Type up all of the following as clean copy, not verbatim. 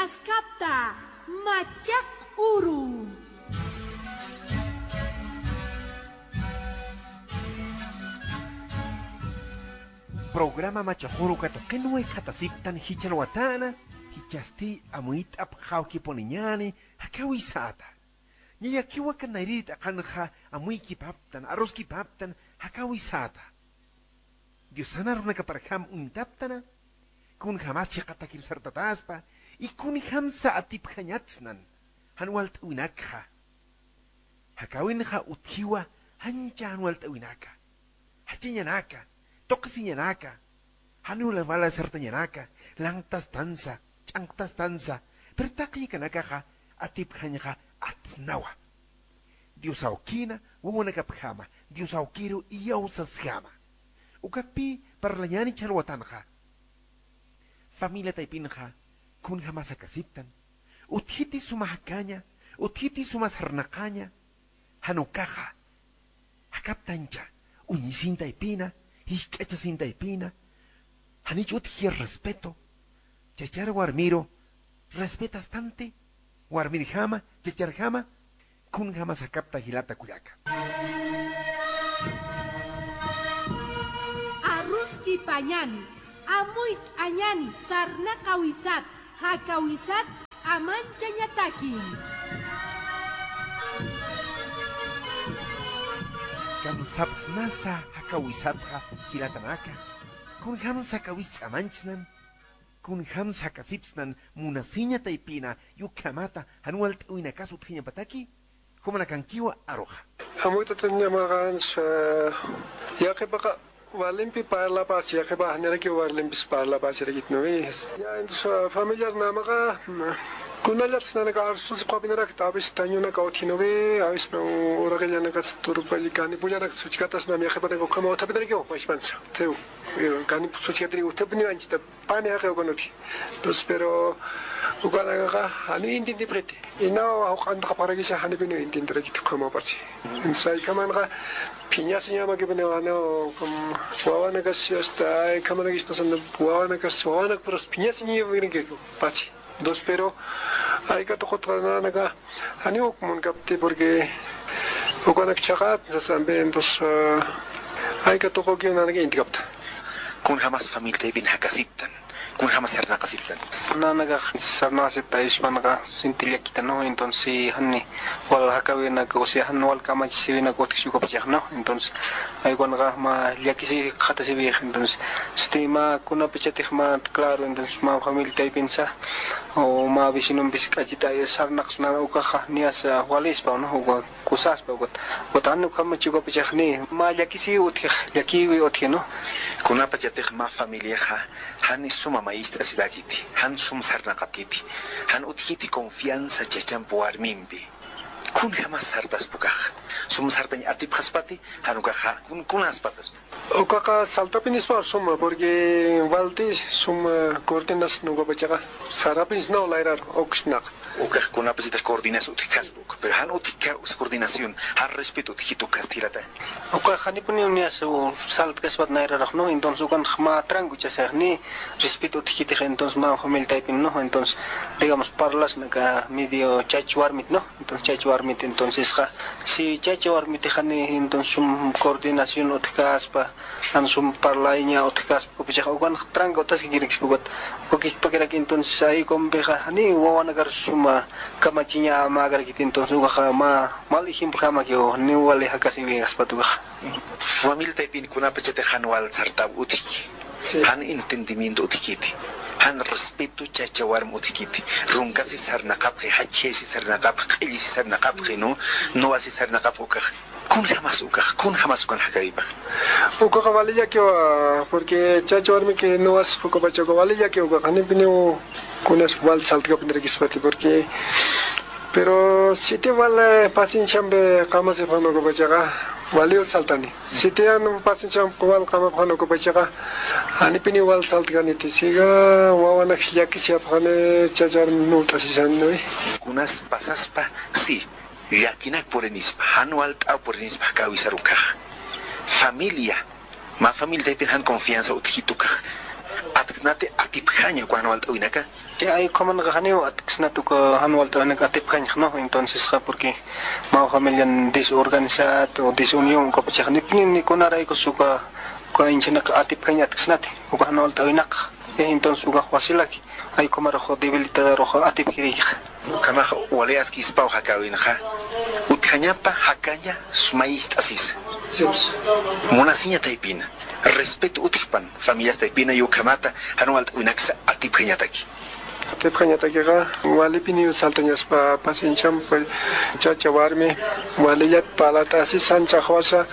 Askapta Machaq Uru. Programa Machajuru katoqinwe katasiptan hichalwatana hichasti amuit apjawkiponiñani hakawisata. Ñayakiwa kanairit aqanja amuykipaptan arroskipaptan hakawisata. Diosana runakaparjam untaptana kun jamás chiqatakir sartataspa y kun hamsa atipjañatznan hanwalt'uinakja. Hakawinja utjiwa hancha hanwalt'uinaka. Hachiñanaka, toqsiñanaka, hanula sartañanaka, lantas tansa, ch'anqtas tansa, pero taqyikanakaqa atipjañqa atnawa. Dios aukina, wawanakapjama, Dios aukiru iyawsasjama. Ukakpi parlañani chalwatanja. Familia taipinja, kunja masakasiptan, utjiti sumahakaña, utjiti sumasarnaqaña, hanukaja, hakaptancha, uñisinta ipina, hisk'achasinta ipina, hanich utji respeto, chachar warmiro, respetas tante, warmirjama, chacharjama, kunjama sakapta hilata kuyaka. Arruski pañani, amuit añani, sarnaqawisat, hakawisat, amanchañatakin. Kamsapsnasa hakawisatja hilatanaka, kun hamsa kawis amanchnan, kun hamsa kasipsnan munasiña taipina yukamata hanualt uinakasu pataki, humanakankiwa aroja. Amuitatanñamaqans yaqipaqa walimpi parlapas yaqipa hanaraki walimpis parlapasirikitnuwi. Ya entonces familiar namaqa kunallat nanaka arsus qapinarak tabis tañunaka othinuwi avis uraqillanaka turupalli kanipullarak suchkatas nam yaqipanaka ukama otapinaraki upashpancha. Teu kani suchkatri utapini anchita pani haqi ukanuti. Entonces pero ukanakaqa hani intintipqiti. Inaw uqantaqa paragisa hanipinu intintirakit ukama parchi. Insaykamanqa phiñasiñamakipini ano wawanakas hasta aykamanakistas wawanakas wawanak puras phiñasiñiyapirinkiku pachi. Dos pero ayka toqotqananaka hani ukmun kapti porque ukanak chaqat sasambe entonces ayka toqokiunanaka intikapta. Kun hamas familia bin hakasiptan. Kun hamas sarnaqasiptan. Nanaga sarnaqasipta ishpanaqa sintillakita no, entonces hanni wal hakawinaka o sea hanni wal kamachisiwinaka utqisukapachaq no, entonces aykunaqa ma llakisi qhatasiwiyaq, entonces este ma kunapichatij ma claro, entonces ma familia taypinsa o ma vecinonpis k'achita sarnaqsna ukaqa nias walispa no, uka kusaspa uka hanni kamachikapachaq ni ma llakisi utqij llakiwi utqij no. Kunapachatij ma familiaja hani suma maestra sidakiti, han sum sarnaqapkiti, han utjiti confianza chachampu warmimpi. Kun jamás sartas pukaj. Sum sartañ atipjaspati, hanukaja kun kunaspasas. Ukaqa saltapinispa suma porque walti suma cortinas nukapachaqa sarapis no layrar oksnaq. Ukaj kunapasitas coordinas utjasbuk, pero han utka coordinación, han respeto utjitu castilata. Uka hanipuni unias u saltkaspat nayraraq no, entonces ukan ma trangu chasaq ni respeto utjitij, entonces ma familia taipin no, entonces digamos parlas naka medio chachwarmit no, entonces chachwarmit entonces ja si chachwarmit hani entonces sum coordinación utkaspa han sum parlaiña utkaspa kupichaq ukan trangu utasqa kirikispukat kukikpakirak entonces ahí compeja hani wawanakar suma kamachiña magarkit entonces ukaqa ma mal ejemplo hamakio ni wali hakasi wiñaspatuqa. Familia taipin kunapachate hanwal sartab utiki. Han entendimiento utikiti. Han respeto chachawarm utikiti. Runkasi sarnaqapqi, hachesi sarnaqapqi, q'illisi sarnaqapqi, no? Noasi sarnaqapqi ukaq. Kun jamas ukaq, kun jamas ukan hakaypaq. Ukaqa valillaki porque chachawarmi que no as pukapachaqa valillaki ukaqa hanipini kunas wal saltkapinarikispati porque pero si te vale pacienciambe qamasipqanukupachaqa valio saltani. Si te anu pacienciam wal qamapqanukupachaqa hanipini wal saltkaniti siga wawanak llakisiapqani chachawarmi nut'asisani. Kunas pasaspa si llakinak purenispa hanual t'aw purenispa kawisarukaj. Familia, ma familia taypin han confianza utjitukaj. Atksnate atipjaña cuando alta? Ay, como no janeo atksnatu hanual tawinaka atipjaña, no? Entonces, porque ma familia desorganizado o desunión kapachaj nipni ni kunarayku suka kainchinaqa atipjaña atksnate uka hanual tawinaka. Entonces uka wasilaki ay como rojo debilitada rojo atipjirija. Kamaja waleaski ispau hakawinja. Utjañapa hakaña sumayist asis. Sips. Munasiña taipina. Respeto utijpan familias taipina yukamata hanual tawinaksa atipjañataki. Atipjañatakiqa walipini saltañaspa paciencham chacha warmi walillat palata asi sanchaqwasa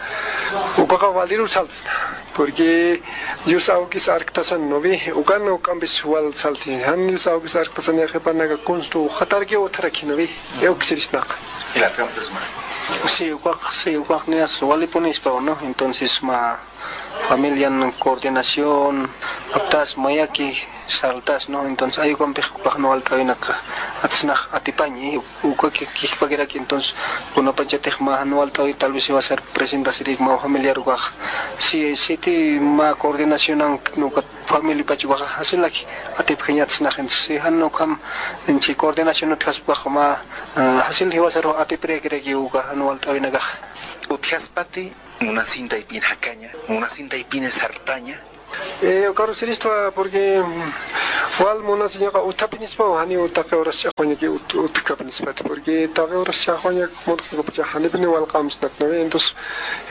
ukaqa waliru saltasna porque yus awkis arktasan novi ukan ukanpis wal salti han yus awkis arktasan yaqipanaqa kunstu hatarki utaraki novi euksirisnaqa. Sí, uqaq nias walipunispa, ¿no? Entonces ma familia en coordinación aptas mayaki saltas, ¿no? Entonces hay con no alta atsnaj atipañi uqaki kikpakiraki entonces uno pachatej ma no alta tal vez iba a ser presentación ma familiar uqaq si si ti ma coordinación no familia pachuqa hasilaki atipjaña atsnaj entonces han no kam en chi coordinación tkaspaq ma hasil iba a ser atiprekreki uqa no alta winakaj Utjaspati munasinta ipin hakaña, munasinta ipin sartaña. Caro siristva porque wal munasiñaqa utapinispa hani utaqi horas chaqwañaki utkapinispa porque taqi horas chaqwañak mutqa hanipini wal qamsnat no entonces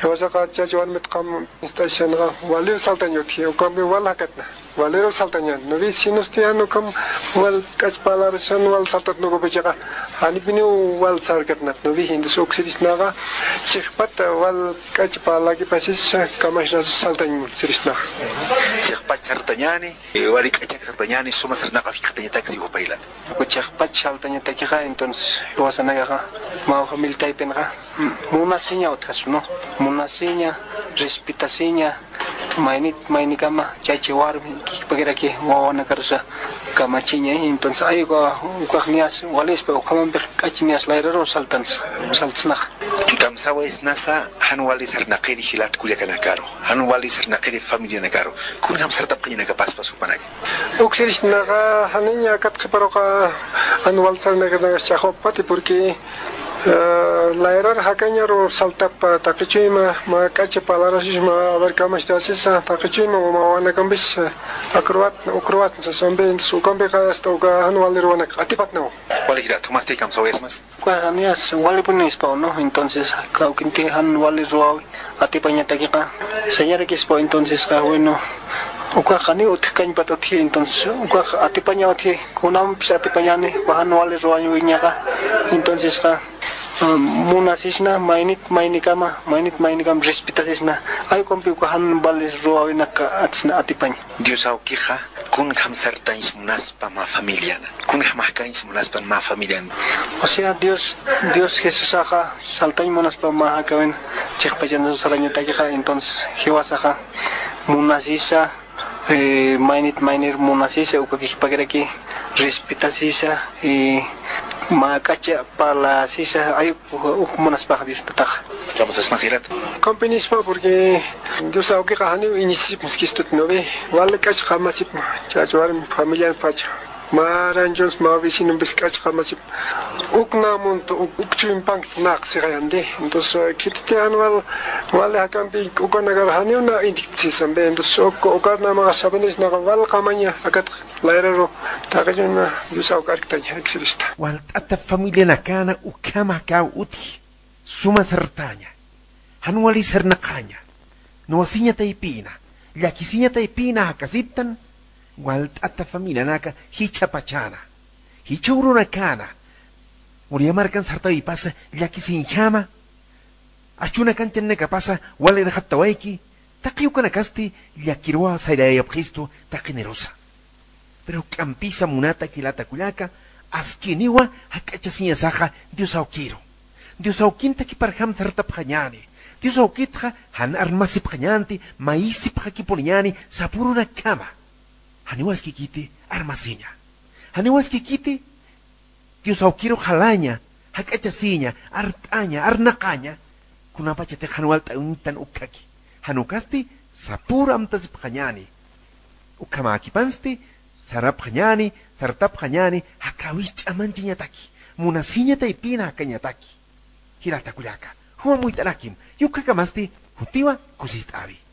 hiwasaqa chacha warmit qam istashanqa walir saltaña utji ukampi wal hakatna walero saltaña no vi sinustiano kam wal kachpalarsan wal saltat no gopechaqa hanipini wal sarkatna no vi entonces oxirisnaqa chiqpata wal kachpalaki pasis kamashna saltaña sirisna. Chiqpat sartañani, wari k'achak sartañani, suma sarnaqa fiqtañataki upaylan. Chiqpat saltañatakiqa entonces hiwasanagaqa ma familia taypinqa munasiña utqas, ¿no? Munasiña, respetasiña, maynit maynikama chachi warmi kikpakiraki wawana karusa kamachiña entonces ayqa uqaq nias walispa uqamanpiq k'achinias layraro saltans saltasnaq. Kamsawa es nasa hanwali sarnaqiri hilat kullakanakaro, hanwali sarnaqiri familia nakaro, kun ham sartapqinaka paspa supanaki. Uksirisnaqa haniña katqiparoqa hanwal sarnaqinaqa chaqwapati porque lairar hakañaro saltapa taqichuyma ma k'acha palarasisma a ver kamastasisa taqichuyma ma wanakampis akruat ukruat sasambi ukampiqa hasta uka hanwalirwanaka atipatnaw. Waligira tomaste kamsawa es más. Nias walipunispa, ¿no? Entonces kawkinti han wali ruawi atipañatakiqa señarakispa entonces bueno uqaqa ni utqañpat utji entonces uqaqa atipaña utji kunanpis atipañani han wali ruwañuwiñaqa entonces munasisna maynit maynikama maynit maynikama respetasisna aykumpi uqa han wali ruwawinaqa atsna atipaña. Dios awkija kun hamsartañs munaspa ma familiana kun hamahkañs munaspa ma familiana. O sea Dios Jesusaqa saltañ munaspa ma hakawin chiqpachana sarañatakiqa entonces hiwasaqa munasisa maynit maynir munasisa uqakikpakiraki respetasisa y ma k'acha parlasisa ay uq munaspaq Dios pataqa. Vamos a más Kampinispa porque Dios awkiqa hani iñisip miskistut no ve wal k'acha qamasip chacha warmi familia pacha maranchos ma vecinos k'acha qamasip uknamunta ukchumpank naqsiqayandi entonces kititi anual wal hakampi ukanaqa haniuna intiksisambe entonces ukarnamaqa sabenisnaqa wal qamaña akat layraro taqilluna Dios awkarktaña exirista. Wal tata familia nakana ukama kaw uti suma sartaña hanwali sarnaqaña nuwasiña taypina llakisiña taypina hakasiptan wal tata familia naka hicha pachana hicha urunakana muriamarkan sartawi pasa llakisinjama achuna kanchanaka pasa waliraqattawayki taqiukanakasti llakirwa sayrayapqistu taqinerosa pero k'ampisa munata kilata kullaka askiniwa hak'achasiñasaqa Dios awkiro Dios awkinta kiparjam sartapqañani Dios awkitqa han armasipqañanti maisipqakipuniñani sapurunakama haniwaskikiti armasiña haniwaskikiti Dios awkiro jalaña hak'achasiña art'aña arnaqaña kunapachati hanuwalta untan ukkaki hanukasti sapura amtasipqañani Ukamakipansti, sarapqa ñani, sartapqa ñani, hakawich'amanchiñataki, munasiñata ipina hakañataki. Hiratakullaka, huamuytalakim, yukhakamasti, hutiwa kusist'avi.